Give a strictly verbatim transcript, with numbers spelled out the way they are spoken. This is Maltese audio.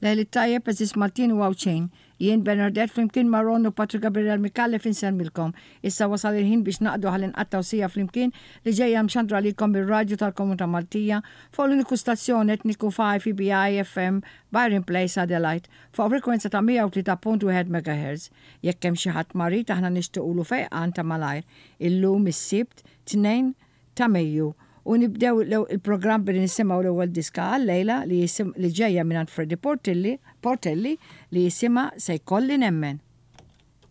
Lejl it-tajjeb, għeżież Maltin u Għawdxin. Jien Bernardette flimkien ma' Ron u Patrick Gabriel Micallef insellmilkom. Issa wasal il-ħin biex naqdu ħalli nqattgħu siegħa flimkien li ġejja mxandra lilkom mir-radju tal-Komunità Maltija fuq l-uniku stazzjon etniku five E B I F M Byron Place, Adelaide, fuq frekwenza ta' mija u tlieta punt wieħed M H. Jekk hemm xi ħadd marid, aħna nixtiequlu fejqan ta' malajr. Illum is-Sibt tnejn ta' Mejju u nibdew il-programm billi nisimgħu l-ewwel diska għal-lejla li jisim li ġejja minn Freddy Portelli, Portelli li jisimha "Se jkolli nemmen".